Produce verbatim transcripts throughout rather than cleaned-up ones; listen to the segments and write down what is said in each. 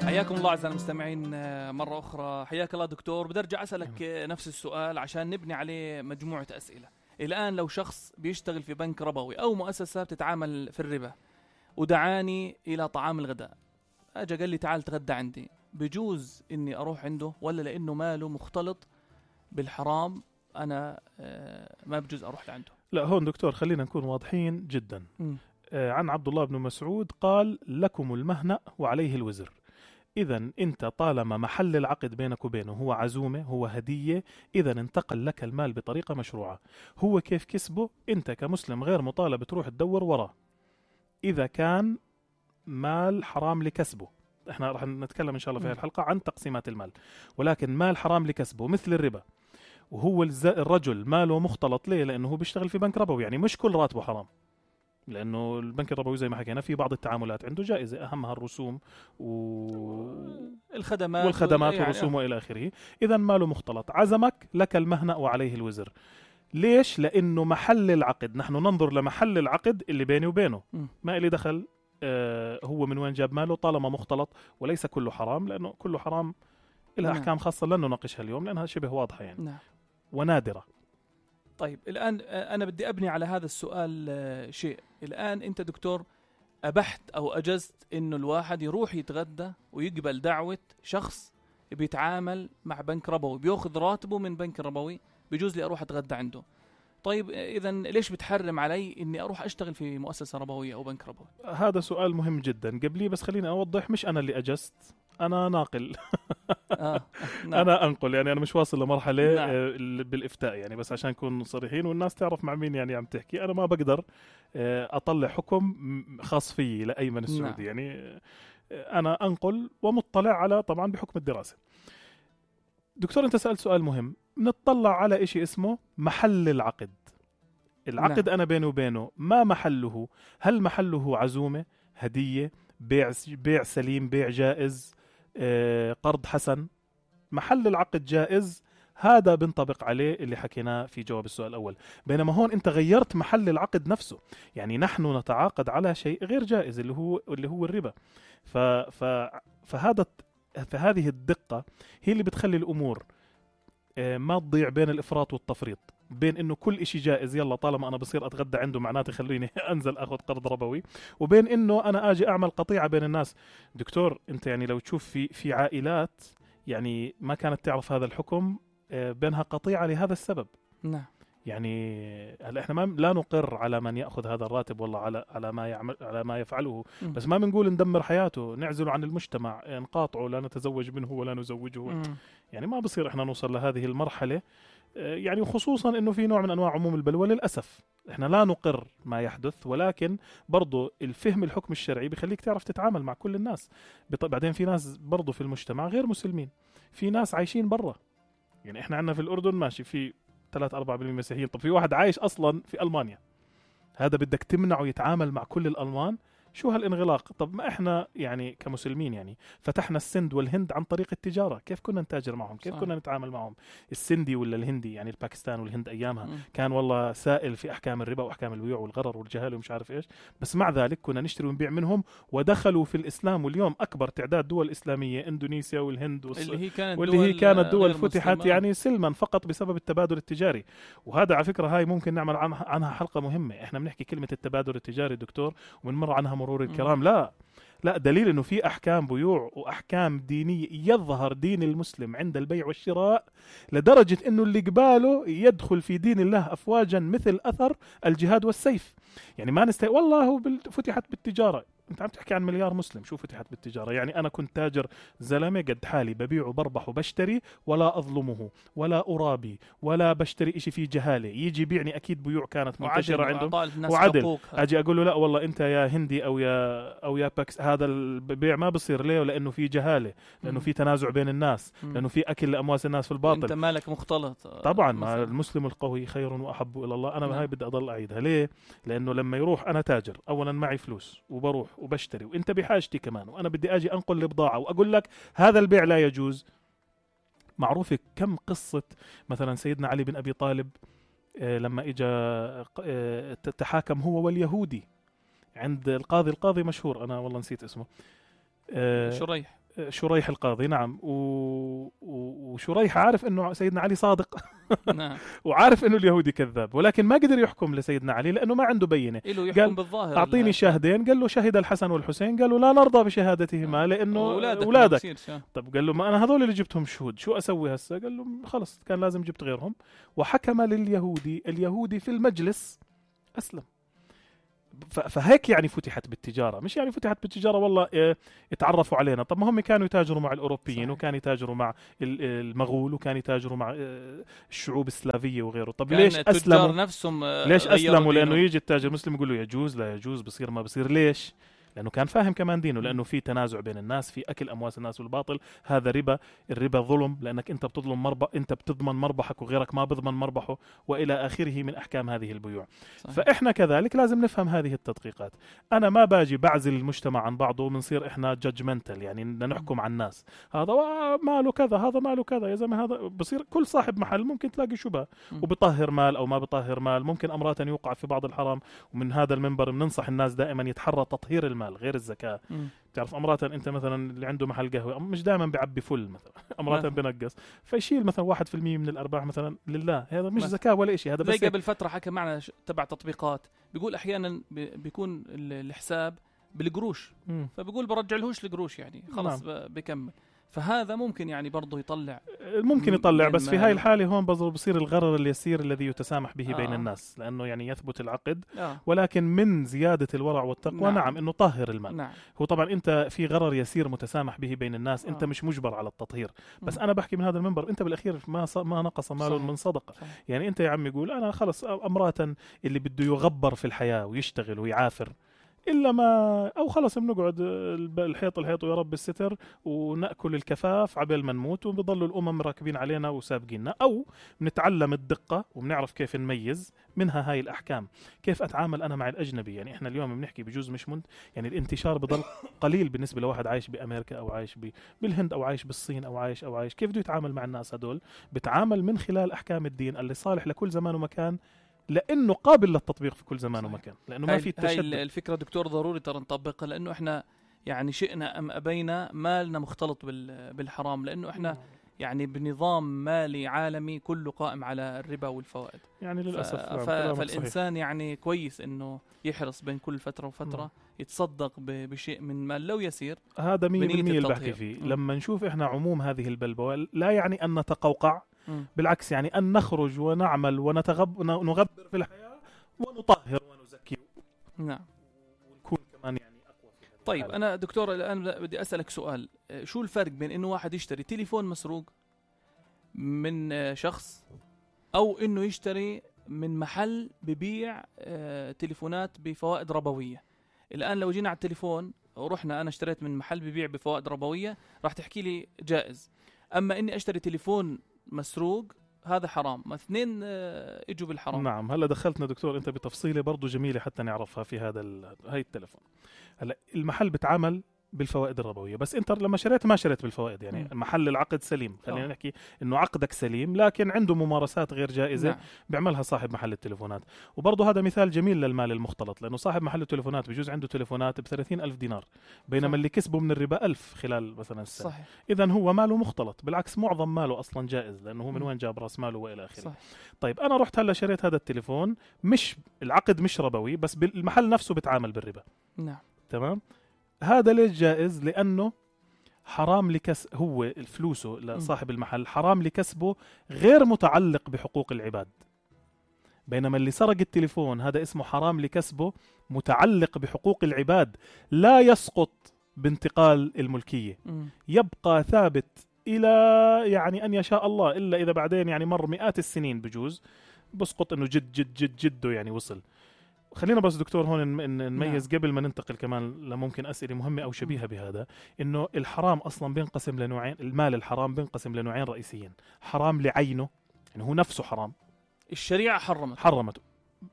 حياكم الله أعزائي المستمعين مرة أخرى. حياك الله دكتور. بدي أرجع أسألك نفس السؤال عشان نبني عليه مجموعة أسئلة. الآن لو شخص بيشتغل في بنك ربوي أو مؤسسة بتتعامل في الربا ودعاني إلى طعام الغداء، أجا قال لي تعال تغدى عندي، بجوز إني أروح عنده ولا لأنه ماله مختلط بالحرام أنا ما بجوز أروح لعنده؟ لا، هون دكتور خلينا نكون واضحين جدا. م. عن عبد الله بن مسعود قال لكم المهنأ وعليه الوزر. إذن أنت طالما محل العقد بينك وبينه هو عزومة، هو هدية، إذن انتقل لك المال بطريقة مشروعة. هو كيف كسبه؟ أنت كمسلم غير مطالب تروح تدور وراه إذا كان مال حرام لكسبه. احنا رح نتكلم إن شاء الله في هذه الحلقة عن تقسيمات المال، ولكن مال حرام لكسبه مثل الربا، وهو الرجل ماله مختلط ليه؟ لأنه هو بيشتغل في بنك ربوي، يعني مش كل راتبه حرام، لأنه البنك الربوي زي ما حكينا في بعض التعاملات عنده جائزة، أهمها الرسوم والخدمات والخدمات يعني والرسوم وإلى آخره. إذن ماله مختلط. عزمك لك المهنأ وعليه الوزر. ليش؟ لأنه محل العقد، نحن ننظر لمحل العقد اللي بيني وبينه، ما إلي دخل آه هو من وين جاب ماله طالما مختلط، وليس كله حرام، لأنه كله حرام لها أحكام خاصة لن نناقشها اليوم لأنها شبه واضحة يعني نعم. ونادرة. طيب الآن أنا بدي أبني على هذا السؤال شيء. الآن أنت دكتور أبحت أو أجزت إنه الواحد يروح يتغدى ويقبل دعوة شخص بيتعامل مع بنك ربوي بيأخذ راتبه من بنك ربوي، بيجوز لي أروح أتغدى عنده. طيب إذن ليش بتحرم علي إني أروح أشتغل في مؤسسة ربوية أو بنك ربوي؟ هذا سؤال مهم جدا. قبلي بس خليني أوضح، مش أنا اللي أجزت، أنا ناقل. آه. نعم. أنا أنقل، يعني أنا مش واصل لمرحلة نعم. بالإفتاء، يعني بس عشان نكون صريحين والناس تعرف مع مين يعني عم تحكي. أنا ما بقدر أطلع حكم خاص فيي لأيمن السعودي. نعم. يعني أنا أنقل ومطلع على طبعا بحكم الدراسة. دكتور أنت سألت سؤال مهم. نطلع على إشي اسمه محل العقد. العقد نعم. أنا بيني وبينه ما محله؟ هل محله عزومة، هدية، بيع بيع سليم، بيع جائز، آه، قرض حسن؟ محل العقد جائز، هذا بنطبق عليه اللي حكيناه في جواب السؤال الأول. بينما هون أنت غيرت محل العقد نفسه، يعني نحن نتعاقد على شيء غير جائز اللي هو اللي هو الربا. ف ف فهذا فهذه الدقة هي اللي بتخلي الأمور آه، ما تضيع بين الإفراط والتفريط، بين انه كل اشي جائز يلا طالما انا بصير اتغدى عنده معناته خليني انزل اخذ قرض ربوي، وبين انه انا اجي اعمل قطيعة بين الناس. دكتور انت يعني لو تشوف في في عائلات يعني ما كانت تعرف هذا الحكم بينها قطيعة لهذا السبب. نعم. يعني هلا احنا ما لا نقر على من ياخذ هذا الراتب والله على على ما يعمل على ما يفعله، م. بس ما بنقول ندمر حياته، نعزله عن المجتمع، نقاطعه، لا نتزوج منه ولا نزوجه. م. يعني ما بصير احنا نوصل لهذه المرحلة، يعني خصوصا انه في نوع من انواع عموم البلوى. للاسف احنا لا نقر ما يحدث، ولكن برضو الفهم الحكم الشرعي بيخليك تعرف تتعامل مع كل الناس. بعدين في ناس برضو في المجتمع غير مسلمين، في ناس عايشين برا، يعني احنا عندنا في الاردن ماشي في ثلاثة أربعة بالمئة مسيحيين، طب في واحد عايش اصلا في المانيا، هذا بدك تمنعه يتعامل مع كل الالمان؟ شو هالانغلاق؟ طب ما احنا يعني كمسلمين يعني فتحنا السند والهند عن طريق التجارة، كيف كنا نتاجر معهم؟ كيف صح. كنا نتعامل معهم؟ السندي ولا الهندي، يعني الباكستان والهند ايامها م. كان والله سائل في احكام الربا واحكام البيوع والغرر والجهاله ومش عارف ايش، بس مع ذلك كنا نشتري ونبيع منهم ودخلوا في الاسلام. واليوم اكبر تعداد دول اسلاميه اندونيسيا والهند والص... اللي هي كانت واللي هي كانت دول فتحت مسلمة. يعني سلما فقط بسبب التبادل التجاري. وهذا على فكره هاي ممكن نعمل عنها حلقه مهمه. احنا بنحكي كلمه التبادل التجاري دكتور وبنمر عنها مرور الكرام. م. لا لا دليل انه في احكام بيوع واحكام دينيه، يظهر دين المسلم عند البيع والشراء لدرجه انه اللي قباله يدخل في دين الله افواجا مثل اثر الجهاد والسيف. يعني ما نستطيع والله هو فتحت بالتجاره. انت عم تحكي عن مليار مسلم، شو فتحت بالتجاره؟ يعني انا كنت تاجر زلمه قد حالي، ببيع وبربح وبشتري ولا اظلمه ولا ارابي ولا بشتري اشي فيه جهاله، يجي يبيعني اكيد بيوع كانت منتشره عنده وعدل. اجي اقول له لا والله انت يا هندي او يا او يا باكس هذا البيع ما بصير ليه؟ لانه في جهاله، لانه في تنازع بين الناس، لانه في اكل لاموال الناس في الباطل، انت مالك مختلط. طبعا ما المسلم القوي خير واحب الى الله. انا هاي بدي اضل اعيدها. ليه؟ لانه لما يروح انا تاجر، اولا معي فلوس وبروح وبشتري وانت بحاجتي كمان، وانا بدي اجي انقل البضاعه واقول لك هذا البيع لا يجوز. معروفه كم قصه مثلا سيدنا علي بن ابي طالب لما اجى تحاكم هو واليهودي عند القاضي، القاضي مشهور انا والله نسيت اسمه، شريح شريح القاضي نعم و... وشريح عارف انه سيدنا علي صادق نعم. وعارف انه اليهودي كذاب، ولكن ما قدر يحكم لسيدنا علي لانه ما عنده بينه. قال بالظاهر اعطيني شاهدين، قال له شهد الحسن والحسين، قالوا لا نرضى بشهادتهما لانه اولادك. طب قال له ما انا هذول اللي جبتهم شهود، شو اسوي هسه؟ قال له خلص كان لازم جبت غيرهم، وحكم لليهودي. اليهودي في المجلس اسلم. فهيك يعني فتحت بالتجارة، مش يعني فتحت بالتجارة والله اه اتعرفوا علينا. طب ما هم كانوا يتاجروا مع الأوروبيين صحيح. وكانوا يتاجروا مع المغول وكانوا يتاجروا مع اه الشعوب السلافية وغيره. طب ليش أسلموا نفسهم اه ليش أسلموا؟ لأنه يجي التاجر مسلم يقول له يجوز لا يجوز بصير ما بصير. ليش؟ لأنه كان فاهم كمان دينه، لأنه في تنازع بين الناس، في أكل أموال الناس والباطل، هذا ربا. الربا ظلم لأنك أنت بتظلم مربح، أنت بتضمن مربحك وغيرك ما بضمن مربحه، وإلى آخره من أحكام هذه البيوع. صحيح. فإحنا كذلك لازم نفهم هذه التدقيقات. أنا ما باجي بعزل المجتمع عن بعضه وبنصير إحنا جادجمنتال، يعني نحكم على الناس، هذا ماله كذا هذا ماله كذا. يا زلمة هذا بصير كل صاحب محل ممكن تلاقي شبهة وبطهر مال أو ما بطهر مال، ممكن أمرات يوقع في بعض الحرام. ومن هذا المنبر بننصح الناس دائما يتحرى تطهير المال غير الزكاة. مم. تعرف أمرات أنت مثلا اللي عنده محل قهوة مش دائما بيعبي فل مثلا، أمرات بنقص، فيشيل مثلا واحد في المية من الأرباح مثلا لله، هذا مش زكاة ولا إشي. هذا بس قبل فترة حكى معنا تبع تطبيقات بيقول أحيانا بيكون الحساب بالقروش، مم. فبيقول برجع لهوش القروش يعني خلاص نعم. بكمل. فهذا ممكن يعني برضه يطلع ممكن يطلع بس في هاي الحالة هون بصير الغرر اليسير الذي يتسامح به آه. بين الناس، لأنه يعني يثبت العقد آه. ولكن من زيادة الورع والتقوى نعم, نعم إنه طهر المال. نعم. هو طبعا أنت في غرر يسير متسامح به بين الناس، آه. أنت مش مجبر على التطهير، بس م. أنا بحكي من هذا المنبر أنت بالأخير ما ص... ما نقص مال من صدقة. صحيح. يعني أنت يا عم يقول أنا خلص أمرات اللي بده يغبر في الحياة ويشتغل ويعافر إلا ما أو خلص بنقعد الحيط الحيط ويا رب الستر ونأكل الكفاف عبال ما نموت، وبيضلوا الأمم راكبين علينا وسابقيننا، أو بنتعلم الدقة وبنعرف كيف نميز منها هاي الأحكام. كيف أتعامل أنا مع الأجنبي؟ يعني إحنا اليوم بنحكي بجوز مش منت يعني الانتشار بضل قليل بالنسبة لواحد عايش بأمريكا أو عايش بالهند أو عايش بالصين أو عايش أو عايش كيف بده يتعامل مع الناس هدول؟ بتعامل من خلال أحكام الدين اللي صالح لكل زمان ومكان، لانه قابل للتطبيق في كل زمان ومكان، لانه ما في التشدد. هاي الفكره دكتور ضروري ترى نطبقها، لانه احنا يعني شئنا ام ابينا مالنا مختلط بالحرام، لانه احنا يعني بنظام مالي عالمي كله قائم على الربا والفوائد يعني للاسف. ف... فالانسان صحيح. يعني كويس انه يحرص بين كل فتره وفتره م. يتصدق ب... بشيء من مال لو يسير. هذا مية بالمية اللي بحكي فيه. م. لما نشوف احنا عموم هذه البلبوه لا يعني ان نتقوقع، م. بالعكس يعني أن نخرج ونعمل ونتغب نغبر في الحياة ونطهر ونزكي. نعم. ونكون كمان يعني أقوى في هذا. طيب أنا دكتور الآن بدي أسألك سؤال، شو الفرق بين إنه واحد يشتري تليفون مسروق من شخص أو إنه يشتري من محل ببيع تليفونات بفوائد ربوية؟ الآن لو جينا على التليفون ورحنا أنا اشتريت من محل ببيع بفوائد ربوية راح تحكي لي جائز، أما إني أشتري تليفون مسروق هذا حرام. ما اثنين اجوا بالحرام. نعم. هلا دخلتنا دكتور انت بتفصيله برضو جميله حتى نعرفها في هذا هاي التليفون. هلا المحل بتعامل بالفوائد الربويه، بس انت لما شريت ما شريت بالفوائد، يعني م. محل العقد سليم، خلينا أوه. نحكي انه عقدك سليم، لكن عنده ممارسات غير جائزه نعم. بيعملها صاحب محل التليفونات. وبرضه هذا مثال جميل للمال المختلط، لانه صاحب محل التليفونات بجوز عنده تليفونات ب ثلاثين ألف دينار، بينما صح. اللي كسبه من الربا ألف خلال مثلا السنه. اذا هو ماله مختلط، بالعكس معظم ماله اصلا جائز، لانه هو من وين جاب راس ماله والى اخره. طيب انا رحت هلا شريت هذا التليفون، مش العقد مش ربوي، بس المحل نفسه بتعامل بالربا. نعم. تمام. هذا ليش جائز؟ لأنه حرام لكس هو الفلوسه لصاحب المحل حرام لكسبه غير متعلق بحقوق العباد، بينما اللي سرق التليفون هذا اسمه حرام لكسبه متعلق بحقوق العباد، لا يسقط بانتقال الملكية، م. يبقى ثابت إلى يعني أن يشاء الله، إلا إذا بعدين يعني مر مئات السنين بجوز بسقط إنه جد جد جد جده يعني وصل. خلينا بس دكتور هون نميز نعم. قبل ما ننتقل كمان لممكن أسئلة مهمة أو شبيهة بهذا، إنه الحرام أصلا بينقسم لنوعين، المال الحرام بينقسم لنوعين رئيسيين، حرام لعينه يعني هو نفسه حرام، الشريعة حرمت حرمته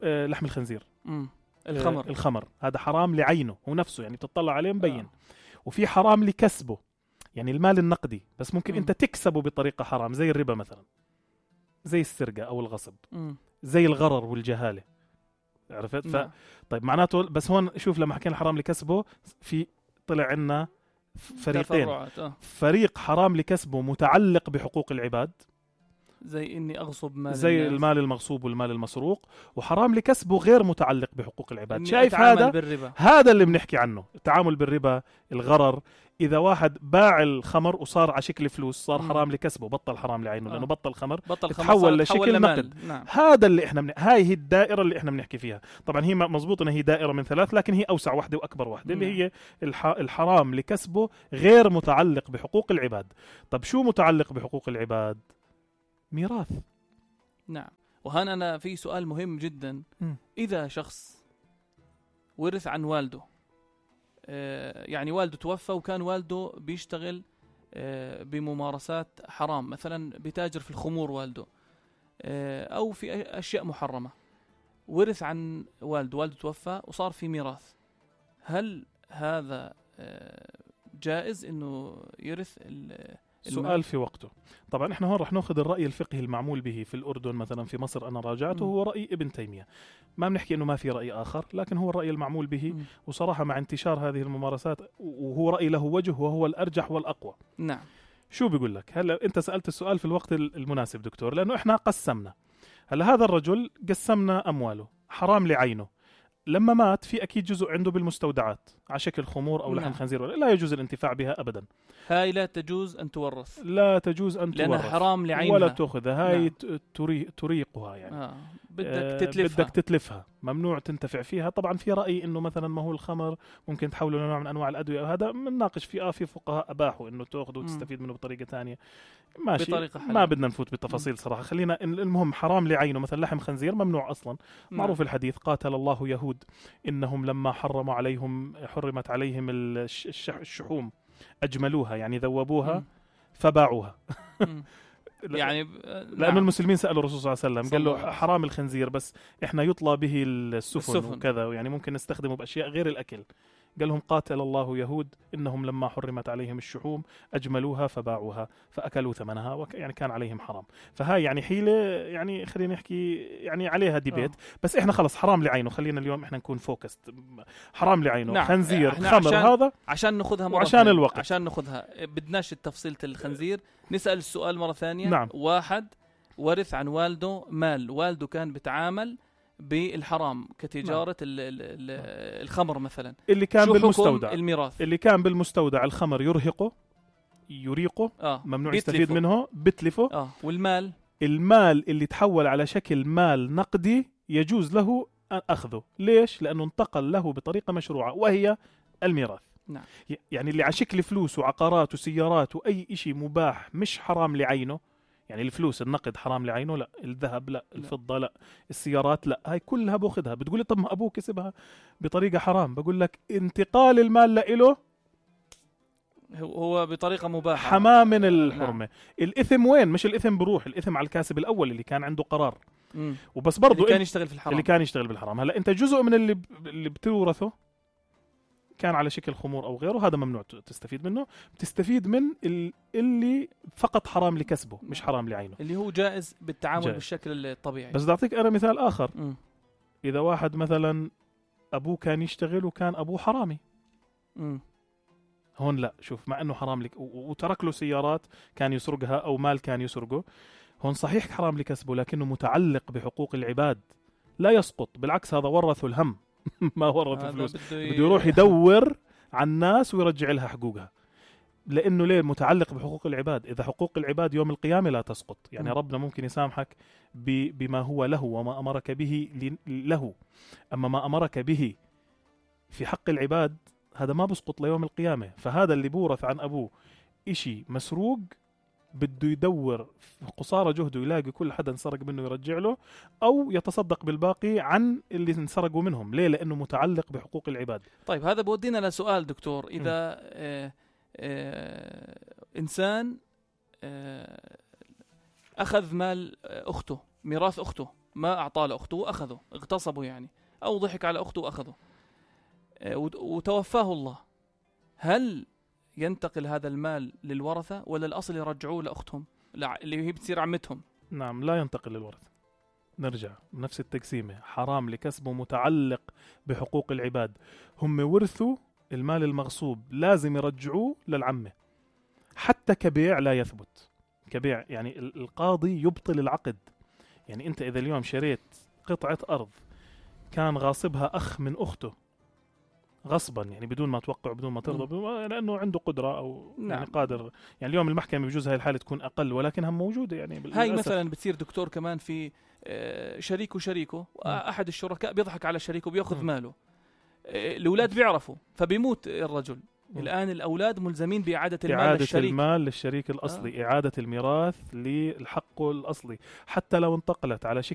آه لحم الخنزير، مم. الخمر آه الخمر هذا حرام لعينه هو نفسه، يعني تطلع عليه مبين. آه. وفي حرام لكسبه، يعني المال النقدي، بس ممكن مم. أنت تكسبه بطريقة حرام، زي الربا مثلا، زي السرقة أو الغصب، مم. زي الغرر والجهالة، عرفت؟ ف... طيب معناته بس هون شوف لما حكينا الحرام لكسبه في طلع عنا فريقين، آه. فريق حرام لكسبه متعلق بحقوق العباد زي إني أغصب مال زي الناس. المال المغصوب والمال المسروق، وحرام لكسبه غير متعلق بحقوق العباد. إني شايف أتعامل هذا بالربا. هذا اللي بنحكي عنه، التعامل بالربا، الغرر. إذا واحد باع الخمر وصار على شكل فلوس صار مم. حرام لكسبه، بطل حرام لعينه آه. لأنه بطل خمر، بطل تحول لشكل نقد. نعم. هذا اللي احنا من... هاي هي الدائرة اللي احنا بنحكي فيها. طبعا هي مزبوط انها هي دائرة من ثلاث، لكن هي أوسع واحدة وأكبر واحدة، اللي هي الح... الحرام لكسبه غير متعلق بحقوق العباد. طب شو متعلق بحقوق العباد؟ ميراث. نعم. وهان أنا في سؤال مهم جدا. م. إذا شخص ورث عن والده، آه يعني والده توفى وكان والده بيشتغل آه بممارسات حرام، مثلا بتاجر في الخمور والده، آه أو في أشياء محرمة، ورث عن والده، والده توفى وصار في ميراث، هل هذا آه جائز إنه يرث ال سؤال في وقته. طبعا احنا هون رح ناخذ الرأي الفقهي المعمول به في الأردن، مثلا في مصر أنا راجعته، هو رأي ابن تيمية. ما بنحكي إنه ما في رأي آخر، لكن هو الرأي المعمول به. م. وصراحة مع انتشار هذه الممارسات، وهو رأي له وجه وهو الأرجح والأقوى. نعم. شو بيقول لك؟ هلا أنت سألت السؤال في الوقت المناسب دكتور، لأنه احنا قسمنا. هلا هذا الرجل قسمنا أمواله حرام لعينه. لما مات في أكيد جزء عنده بالمستودعات على شكل خمور أو لحم نعم. خنزير، لا يجوز الانتفاع بها أبدا. هاي لا تجوز أن تورث، لا تجوز أن لأنها تورث حرام لعينها ولا تأخذها. هاي نعم. تري تريقها يعني آه. بدك آه تتلفها. بدك تتلفها، ممنوع تنتفع فيها. طبعا في رأي إنه مثلا ما هو الخمر ممكن تحوله لنوع من أنواع الأدوية، وهذا بنناقش فيه. آه في فقهاء أباحوا إنه تأخذه وتستفيد منه بطريقة ثانية، ماشي، بطريقة حلال. ما بدنا نفوت بالتفاصيل صراحة. خلينا المهم حرام لعينه. مثلا لحم خنزير ممنوع أصلا. نعم. معروف الحديث قاتل الله يهود إنهم لما حرموا عليهم حرمت عليهم الشحوم أجملوها، يعني ذوبوها م. فباعوها. يعني لأنه نعم. المسلمين سألوا الرسول صلى الله عليه وسلم، قال له حرام الخنزير بس إحنا يطلى به السفن, السفن. وكذا، يعني ممكن نستخدمه بأشياء غير الأكل. قال لهم قاتل الله يهود إنهم لما حرمت عليهم الشحوم أجملوها فباعوها فأكلوا ثمنها، وك يعني كان عليهم حرام. فهاي يعني حيلة، يعني خلينا نحكي يعني عليها ديبيت. آه. بس إحنا خلص حرام لعينه، خلينا اليوم إحنا نكون فوكست. حرام لعينه. نعم. خنزير خمر عشان هذا عشان نأخذها مرة وعشان الوقت، عشان نأخذها بدناش التفصيل الخنزير. نسأل السؤال مرة ثانية. نعم. واحد ورث عن والده مال، والده كان بتعامل بالحرام كتجارة نعم. ال ال الخمر مثلا، اللي كان بالمستودع الميراث، اللي كان بالمستودع الخمر يرهقه يريقه آه. ممنوع يستفيد منه، بتلفه. آه. والمال المال اللي تحول على شكل مال نقدي يجوز له أخذه. ليش؟ لأنه انتقل له بطريقة مشروعة وهي الميراث. نعم. يعني اللي على شكل فلوس وعقارات وسيارات وأي إشي مباح مش حرام لعينه، يعني الفلوس النقد حرام لعينه، لا. الذهب لا، الفضة لا، السيارات لا، هاي كلها باخذها. بتقولي طب ما أبوه كسبها بطريقة حرام، بقول لك انتقال المال لإله هو بطريقة مباحة، حماه من الحرمة. نعم. الإثم وين؟ مش الإثم بروح، الإثم على الكاسب الأول اللي كان عنده قرار. مم. وبس برضو اللي كان يشتغل في الحرام، اللي كان يشتغل بالحرام. هلا أنت جزء من اللي اللي بتورثه كان على شكل خمور أو غيره، هذا ممنوع تستفيد منه. بتستفيد من اللي فقط حرام لكسبه مش حرام لعينه، اللي هو جائز بالتعامل جائز. بالشكل الطبيعي. بس بدي أعطيك أنا مثال آخر. م. إذا واحد مثلا أبوه كان يشتغل وكان أبوه حرامي، م. هون لا، شوف، مع أنه حرام لك وترك له سيارات كان يسرقها أو مال كان يسرقه، هون صحيح حرام لكسبه لكنه متعلق بحقوق العباد، لا يسقط. بالعكس هذا ورثه الهم ما ورثه فلوس، بده يروح يدور على الناس ويرجع لها حقوقها، لأنه ليه؟ متعلق بحقوق العباد. إذا حقوق العباد يوم القيامة لا تسقط، يعني م. ربنا ممكن يسامحك بما هو له وما أمرك به له، أما ما أمرك به في حق العباد هذا ما بسقط ليوم القيامة. فهذا اللي بورث عن أبوه إشي مسروق بده يدور قصارى جهده يلاقي كل حدا انسرق منه يرجع له، أو يتصدق بالباقي عن اللي انسرقوا منهم. ليه؟ لأنه متعلق بحقوق العباد. طيب هذا بودينا لسؤال دكتور. إذا آه آه إنسان آه أخذ مال أخته، ميراث أخته، ما أعطاه لأخته وأخذه، اغتصبه يعني، أو ضحك على أخته وأخذه، آه وتوفاه الله، هل ينتقل هذا المال للورثة ولا الأصل يرجعوه لأختهم اللي هي بتصير عمتهم؟ نعم، لا ينتقل للورثة. نرجع نفس التقسيمة، حرام لكسبه متعلق بحقوق العباد. هم ورثوا المال المغصوب لازم يرجعوه للعمة، حتى كبيع لا يثبت. كبيع يعني القاضي يبطل العقد. يعني أنت إذا اليوم شريت قطعة أرض كان غاصبها أخ من أخته غصبا، يعني بدون ما توقع بدون ما ترضى، لأنه عنده قدرة أو نعم. يعني قادر، يعني اليوم المحكمة بجوز هاي الحالة تكون أقل ولكنها موجودة. يعني هاي مثلا بتصير دكتور كمان في شريك وشريكه، أحد الشركاء بيضحك على شريكه بيأخذ م. ماله، الأولاد بيعرفوا فبيموت الرجل. م. الآن الأولاد ملزمين بإعادة المال إعادة للشريك. المال للشريك الأصلي، آه. إعادة الميراث للحق الأصلي، حتى لو انتقلت على شكل